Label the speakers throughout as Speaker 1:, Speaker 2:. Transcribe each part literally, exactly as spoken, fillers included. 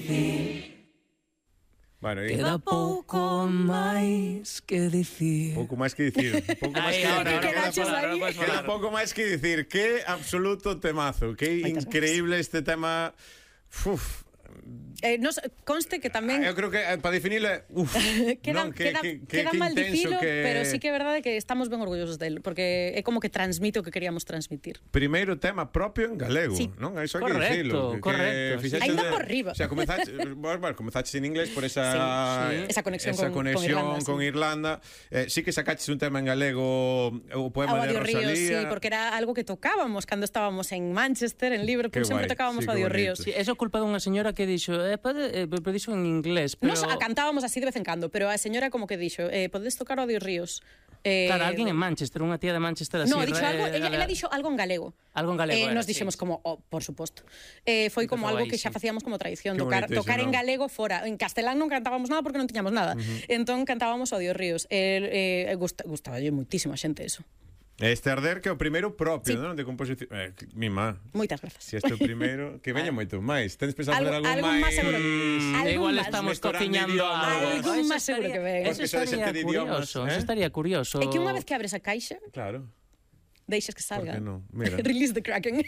Speaker 1: dicir.
Speaker 2: Bueno, e...
Speaker 1: Queda pouco máis que dicir.
Speaker 2: Pouco máis que dicir. Pouco máis que
Speaker 3: ahora,
Speaker 2: dicir.
Speaker 3: ahora,
Speaker 2: Queda,
Speaker 3: ahora, ahora,
Speaker 2: queda pouco máis que dicir. Que absoluto temazo. Que increíble este tema. Uf.
Speaker 4: Eh, nos conste que tamén
Speaker 2: Eu creo que eh, para definirle, uf,
Speaker 4: queda,
Speaker 2: non, que,
Speaker 4: queda,
Speaker 2: que,
Speaker 4: queda
Speaker 2: que
Speaker 4: mal
Speaker 2: intenso
Speaker 4: dicilo,
Speaker 2: que...
Speaker 4: pero sí que é verdade que estamos ben orgullosos del, porque é como que transmite o que queríamos transmitir.
Speaker 2: Primeiro tema propio en galego,
Speaker 4: sí.
Speaker 2: non? Iso hai que
Speaker 3: Correcto,
Speaker 2: dicilo.
Speaker 3: correcto.
Speaker 2: Que
Speaker 4: Ainda
Speaker 2: de,
Speaker 4: por riba.
Speaker 2: O sea, comenzaste, bueno, bueno, comenzaste en inglés por esa
Speaker 4: sí, sí. esa conexión,
Speaker 2: esa
Speaker 4: con,
Speaker 2: conexión con Irlanda. Con Irlanda. Eh, sí que sacaches un tema en galego, o poema
Speaker 4: a
Speaker 2: de Rosalía.
Speaker 4: Ríos, sí, porque era algo que tocábamos cando estábamos en Manchester, en Liverpool, sempre tocábamos sí, Odio Ríos.
Speaker 3: Sí, eso é culpa dunha señora que dixo, eh, pode, eh, dixo en inglés, pero...
Speaker 4: Nos a cantábamos así de vez en cando, pero a señora como que dixo, eh, podedes tocar Odio Ríos.
Speaker 3: Eh, claro, alguén en Manchester, unha tía de Manchester así...
Speaker 4: No, dixo
Speaker 3: re,
Speaker 4: algo, ella,
Speaker 3: re,
Speaker 4: ella dixo algo en galego.
Speaker 3: Algo en galego
Speaker 4: eh,
Speaker 3: era,
Speaker 4: Nos dixemos
Speaker 3: sí.
Speaker 4: como, oh, por suposto. Eh, foi como algo que xa facíamos como tradición, tocar, tocar en galego fora. En castelán non cantábamos nada porque non tiñamos nada. Uh-huh. Entón cantábamos Odio Ríos. Eh, eh, gusta, gustaba yo moitísimo a xente eso.
Speaker 2: Este Arder que é o primeiro propio,
Speaker 4: sí.
Speaker 2: non? De composición. Eh, mi má.
Speaker 4: Moitas grazas.
Speaker 2: Si este é o primeiro, que veña moito máis. Tens pensado fazer algo,
Speaker 4: algo
Speaker 2: máis?
Speaker 4: Seguro.
Speaker 3: Mm,
Speaker 4: algo
Speaker 3: igual
Speaker 4: más.
Speaker 3: estamos cociñando algo.
Speaker 4: Algo máis seguro que ven.
Speaker 3: Eso estaría curioso, eso estaría curioso.
Speaker 4: É que unha vez que abres a caixa...
Speaker 2: Claro.
Speaker 4: Deixas que salga.
Speaker 2: ¿Por qué no? Mira.
Speaker 4: Release the Kraken.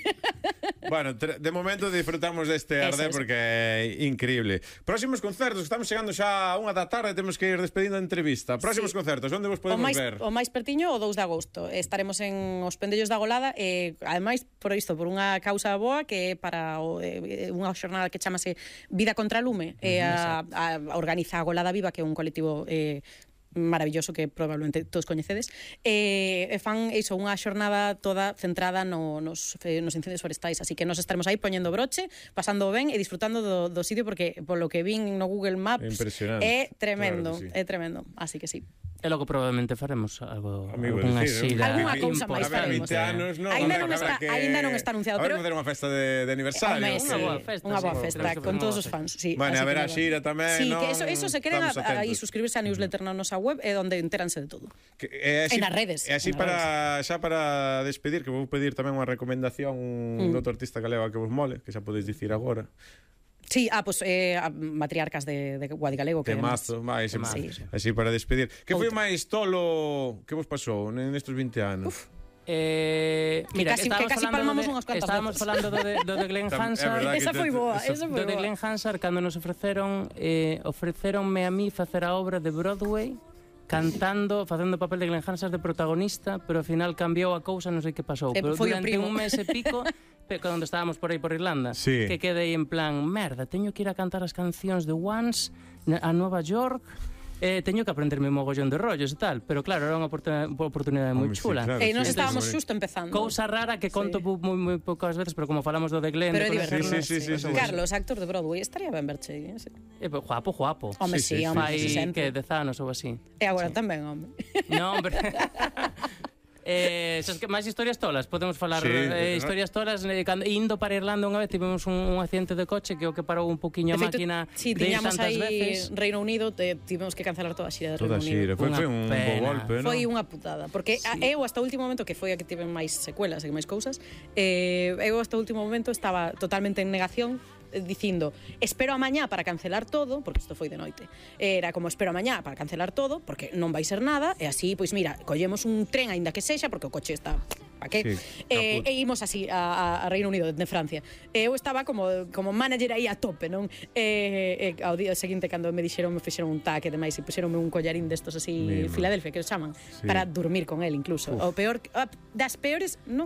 Speaker 2: Bueno, de momento disfrutamos deste Arder porque é increíble. Próximos concertos, estamos chegando xa a unha da tarde, temos que ir despedindo a entrevista. Próximos sí. concertos, onde vos podemos
Speaker 4: o máis,
Speaker 2: ver?
Speaker 4: O máis pertiño o dous de agosto. Estaremos en Os Pendellos da Golada e, ademais, por isto, por unha causa boa que é para o, eh, unha xornada que chamase Vida contra Lume. E a, a, a organiza a Golada Viva, que é un colectivo... Eh, maravilloso que probablemente todos coñecedes, e eh, fan iso, unha xornada toda centrada no, nos, nos incendios forestais, así que nos estaremos aí poñendo broche, pasando ben e disfrutando do, do sitio, porque polo que vin no Google Maps é tremendo, claro sí. é tremendo, así que sí.
Speaker 3: E logo probablemente faremos algo
Speaker 2: unha
Speaker 4: xira. Alguna cousa máis faremos.
Speaker 2: No,
Speaker 4: ainda, non está,
Speaker 2: que...
Speaker 4: ainda non está anunciado,
Speaker 2: pero...
Speaker 4: A
Speaker 2: ver, fazer unha festa de, de aniversario.
Speaker 4: Hombre,
Speaker 3: unha boa festa.
Speaker 4: Unha boa
Speaker 3: sí,
Speaker 4: festa, con todos os fans. Sí,
Speaker 2: bueno, a ver a xira tamén,
Speaker 4: sí,
Speaker 2: non?
Speaker 4: Que eso, eso se queren aí suscribirse á newsletter na nosa web, é onde enteranse de todo.
Speaker 2: Que, é así,
Speaker 4: en as redes.
Speaker 2: E así para, xa para despedir, que vou pedir tamén unha recomendación mm. do outro artista galega que vos mole, que xa podedes dicir agora.
Speaker 4: Sí, ah, pues eh, Matriarcas de, de Guadigalego.
Speaker 2: Que mazo, máis,
Speaker 4: sí.
Speaker 2: Así para despedir. Que foi máis tolo que vos pasou nestes vinte anos?
Speaker 4: Uf.
Speaker 3: Eh, mira,
Speaker 4: que casi, que casi palmamos
Speaker 3: de,
Speaker 4: unhas cuantas
Speaker 3: estábamos
Speaker 4: veces.
Speaker 3: falando do de, do de Glenn Hansard.
Speaker 4: Esa foi boa, esa foi
Speaker 3: boa. Do de Glenn Hansard, cando nos ofreceron eh, ofreceronme a mí facer a obra de Broadway cantando, facendo o papel de Glenn Hansard de protagonista, pero ao final cambiou a cousa, non sei que pasou,
Speaker 4: eh,
Speaker 3: pero durante un mes e pico cando estábamos por aí por Irlanda,
Speaker 2: sí.
Speaker 3: que quedei en plan, merda, teño que ir a cantar as cancións de Once a Nova York, eh, teño que aprenderme un mogollón de rollos e tal, pero claro, era unha oportunidade, oportunidade moi chula.
Speaker 2: Sí, claro,
Speaker 4: e nos
Speaker 2: sí,
Speaker 4: estábamos
Speaker 2: sí.
Speaker 4: xusto empezando.
Speaker 3: Cousa rara que conto sí. moi, moi poucas veces, pero como falamos do de Glenn,
Speaker 4: pero
Speaker 3: de
Speaker 4: divertido.
Speaker 2: Sí, sí, sí, sí, sí.
Speaker 4: Carlos, actor de Broadway, estaría ben verche. Eh?
Speaker 3: Eh, guapo, guapo.
Speaker 4: Home, sí, sí, sí,
Speaker 3: home,
Speaker 4: sí,
Speaker 3: sí, que dez anos ou así.
Speaker 4: E agora
Speaker 3: sí.
Speaker 4: tamén, home.
Speaker 3: Non, pero... Eh, sabes que máis historias tolas, podemos falar
Speaker 2: sí,
Speaker 3: eh,
Speaker 2: ¿no?
Speaker 3: historias tolas eh, cando, indo para Irlanda unha vez tivemos un, un accidente de coche que o que parou un poquinho a máquina
Speaker 4: sí,
Speaker 3: de
Speaker 4: tiñamos
Speaker 3: tantas
Speaker 4: aí
Speaker 3: veces.
Speaker 4: Reino Unido, te, tivemos que cancelar toda a xira de
Speaker 2: toda
Speaker 4: Reino
Speaker 2: xira.
Speaker 4: Unido.
Speaker 2: Foi, foi un bo golpe, ¿no?
Speaker 4: Foi unha putada, porque sí. eu hasta o último momento, que foi a que tive máis secuelas e máis cousas, eh, eu hasta o último momento estaba totalmente en negación, dicindo, espero a mañá para cancelar todo, porque isto foi de noite. Era como, espero a mañá para cancelar todo, porque non vai ser nada, e así, pois mira, collemos un tren aínda que sexa, porque o coche está pa que? Sí, eh, e imos así a, a Reino Unido, de Francia. E eu estaba como, como manager aí a tope, non? E, e ao día seguinte, cando me dixeron, me fixeron un taque, demais, e puxeronme un collarín destos así, Mima. Filadelfia, que os chaman, sí. para dormir con él, incluso. Uf. O peor, das peores, non